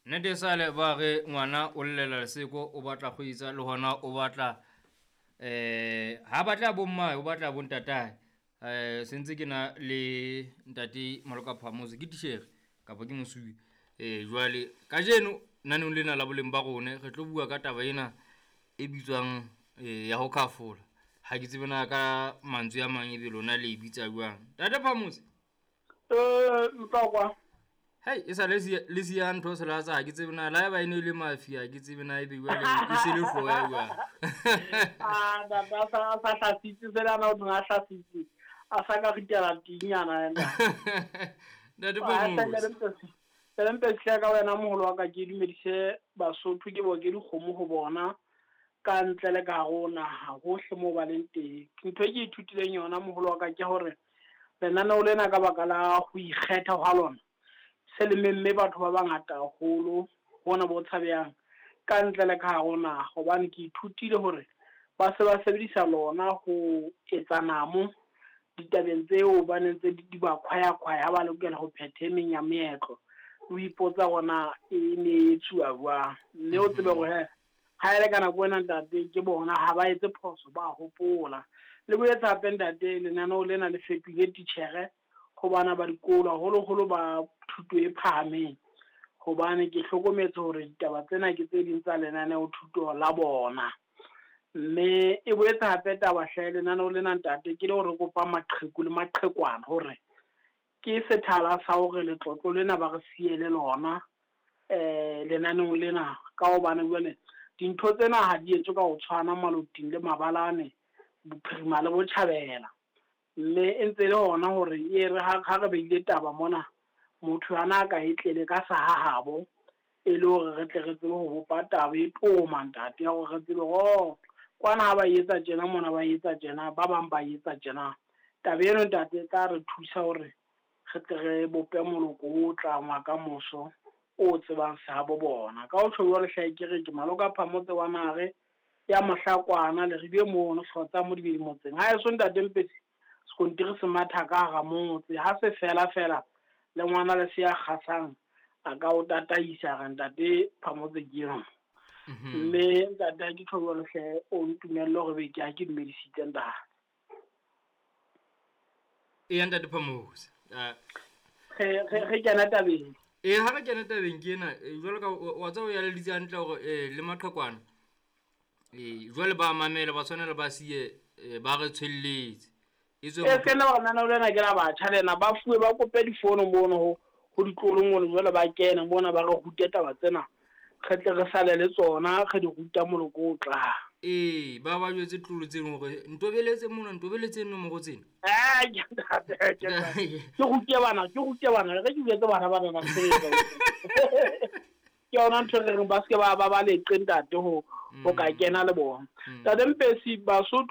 Nnete sale ba re ngwana o llela leseko, o batla go itsa le hona o batla ha batla bo mmae, o batla bo ntatae. Sentse ke na le ntate Maloka Phamotse, ke titjhere kapa ke mosuwe. Jwale kajeno naneong lena la boleng ba rone re tlo bua ka taba ena e bitswang ya ho khafola. Ha ke tsebe na ka mantswe a mang ebe lona le e bitsa jwang. Ntate Phamotse. Ntlokwa. Hei, e sa le siya ntho se la tsa, ke tsebe na la eba e ne le mafia, ke tsebe na ebe jwale e se le hloya jwang. Ah, ntate a sa hlasitse, se le ana o thong a hlasitse. A sa ka ritela tinyana ena. Ntate Ah, Phamotse. Ntate Mpesi, ka wena moholo wa ka ke dumedise Basotho, ke bo ke dikgomo ho bona ka ntle le ka hare ho naha hohle moo ba leng teng. Ntho e ke ithutileng yona moholo wa ka ke hore lenaneo lena ka baka la ho ikgetha hwa lona se le memme batho ba bangata haholo hona bo tshabehang ka ntle le ka hare ho naha, hobane ke ithutile hore ba se ba sebedisa lona ho etsa namo ditabeng tseo ba neng tse di ba khwaya-khwaya ha ba lokela ho phetha e meng ya meetlo. O ipotsa hore na e ne e etsuwa jwang, mme o tsebe hore he ha e le ka nako ena ntate ke bona ha ba etse phoso, ba hopola. Le boetse hape ntate lenaneo lena le fetohile titjhere ho bana ba dikolo, haholoholo ba thuto e phahameng, hobane ke hlokometse hore ditaba tsena ke tse ding tsa lenaneo thuto la bona. Mme e boetse hape taba hle lenaneo lena ntate ke le hore kopa maqheku le maqhekwana hore ke sethala sa hore letlotlo lena ba re siele lona lenaneong lena, ka hobane jwale dintho tsena ha di etswe ka ho tshwana maloting le mabalane, bophirima le botjhabela. Mme e ntse le hona hore e re ha re beile taba mona, motho ana a ka e tlele ka sa hahabo, e le hore re tle re tsebe ho bopa taba e toma ntate, ya hore re tsebe hore kwana ha ba etsa tjena, mona ba etsa tjena, ba bang ba etsa tjena. Taba eno ntate e tla re thusa hore re tle re bope moloko o tlang wa kamoso o tsebang sehabo bona. Ka ho tjho jwalo hle ke re ke Maloka Phamotse wa Nare ya Mohlakwana, Leribe mono Hlotsa Modibedi motseng. Ha eso ntate Mpesi sekontiri se matha ka hara motse, ha se fela fela le ngwana le se ya kgasang a ka o tataisa re ntate Phamotse ke eno. Mme ntate ha ke tjho jwalo hle o ntumelle hore be ke ha ke dumedisitse ntate. Eya ntate Phamotse. Re kena tabeng. Ha re kena tabeng ke ena, jwalo ka wa tseba o eleditse hantle hore le maqhekwana. Jwale ba mamela, ba tshwanela ba siye ba re tshwelletse. E se le hore lenaneo lena ke la batjha lena, ba fuwe ba kope difono mono ho ditlolo mono, jwale ba kene mona ba re rute taba tsena, re tle re sale le tsona, re di ruta moloko o tlang. Ba ba jwetse tlolo tseno hore ntobeletse mona, ntobeletse nomoro tsena. Ke rute bana, ke rute bana, re ke jwetse bana ba rona ntho. Ke yona ntho re reng ba se ke ba ba leqe ntate ho ka kena le bona. Ntate Mpesi, Basotho